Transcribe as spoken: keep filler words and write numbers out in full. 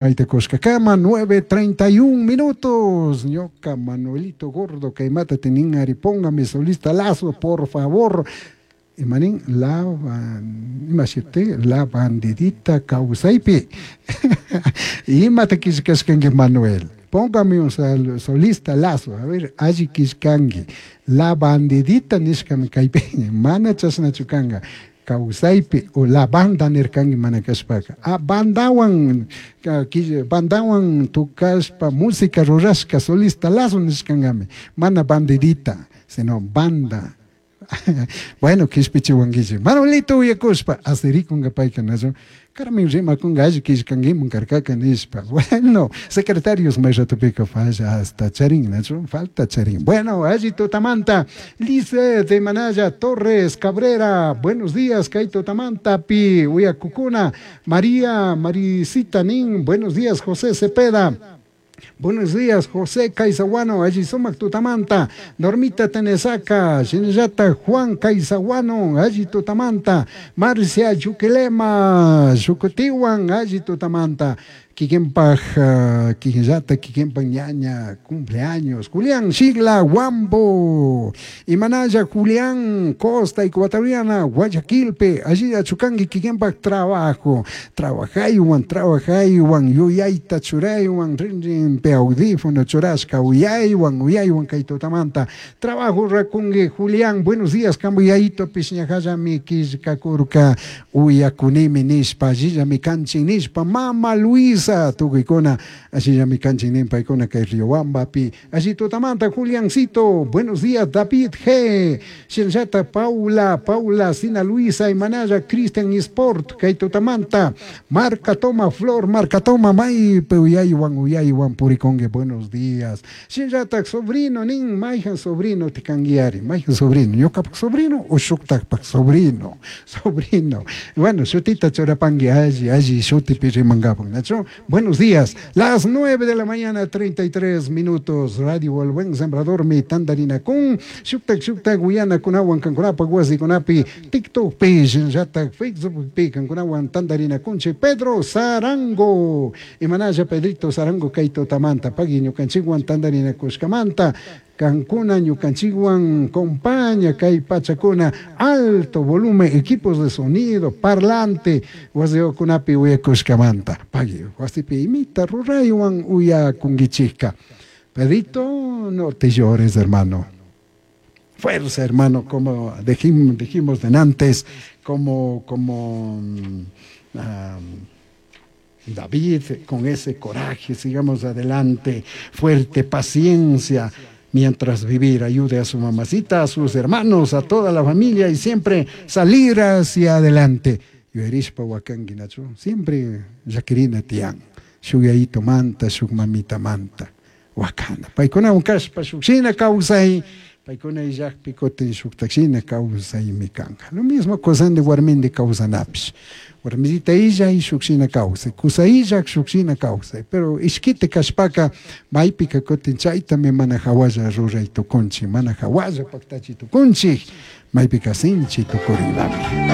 Aita nueve treinta y un minutos. Ñoca Manuelito Gordo, kaymata tinin ari, póngame solista Lazo, por favor. Imanin la imashiti la bandidita kawsaypi. Imata killkashkanki Manuel. Póngame un solista Lazo. A ver, alli killkanki. La bandidita nishkami kaypi. Mana chashnachu kanka. Kawsaypi o la banda nirkanki mana kashpaka. A bandawan, bandawan tukashpa música rurashka solista Lazo nishkankami. Mana bandidita, sino banda. Bueno, kishpichiwankichik. Manuelito uyakushpa, asirikunka payka nachu. Carmen rimakunka alli killkankiman karkaka nishpa. Bueno, secretarios may ratupika falla hasta charin, nachu, falta charin. Bueno, alli tutamanta, Lice de Manaya Torres Cabrera, buenos días, kay tutamanta pi uyakukuna, María Marisita Nin, buenos días, José Cepeda. Buenos días, José Caizaguano, allí sumac tutamanta, Normita Tenesaca, Shinllata Juan Caizaguano, allí tutamanta, Marcia Yuquilema, Yucutiwan, allí tutamanta, Kikenpaj, uh, Kikenllata, Kikenpaj ñaña, cumpleaños, Julián Shigla, Guambo, Imanaya, Julián Costa, Ecuatoriana, Guayaquilpe, allí achukangi, Kikenpaj trabajo, trabajaywan, trabajaywan, yuyayta churaywan, rin rin pe audífono churashka, uyaywan, uyaywan kaytutamanta, trabajo rakungi, Julián, buenos días, kambuyaito, pishñajallami, killkakurka, uyakunimi nishpa, allillami kanchin nishpa, Mama Luisa, tukuykuna, allillami kanchin paykuna kay Riobambapi, allí tutamanta, Juliancito, buenos días, David G, Shinllata, Paula, Paula, Sina Luisa, Imanaya, Cristian Sport, kay tutamanta, Marca Toma, Flor, Marca Toma, Maype, uyaywan, uyaywan, purikongue, buenos días, Shinllata, sobrino, nin, mayjan sobrino, tikanguiari, mayjan sobrino, ñukapak sobrino, o shuktakpak sobrino, sobrino, bueno, shutita churapangui, alli, alli, shutipi rimangapan, nacho. Buenos días, las nueve de la mañana, treinta y tres minutos, Radio El Buen Sembrador, mi tandarina kun, shuktak, shuktak, guyana, kunawan, kankunapa, guasi, kunapi, TikTok, pi, shinllatak, Facebook, pi, kankunawan, tandarina kunche, Pedro Sarango, imanaya Pedrito Sarango, kaito tamanta, pagui, ñukanchikwan, tandarina kushkamanta, Cancuna, ñukanchikwan, compaña, kay pachakuna, alto volumen, equipos de sonido, parlante, wasiyokunapi uyakushkamanta, pagui, wasipi imita, ruraywan uyakunkichikka. Pedrito, no te llores, hermano. Fuerza, hermano, como dijimos, dijimos de antes, como, como um, David, con ese coraje, sigamos adelante, fuerte, paciencia, mientras vivir, ayude a su mamacita, a sus hermanos, a toda la familia y siempre salir hacia adelante. Yuerishpa wakanki, nachu, siempre llakirina tiyan, shuk manta, shuk mamita manta, wakana. Paykuna kashpa shukshina kawsay, paykuna illakpi kutin shuktakshina kawsaymi kanka. Lo mismo kusandi warmindi kawsanapish. Warmisita illa y shukshina kawsay, kusa illak shukshina kawsay, pero ishkite kashpaka maypika kutin chaytami mana hawalla ruray tukunchik, mana hawalla paktachi tukunchik, maypika sinchi tukurinlami.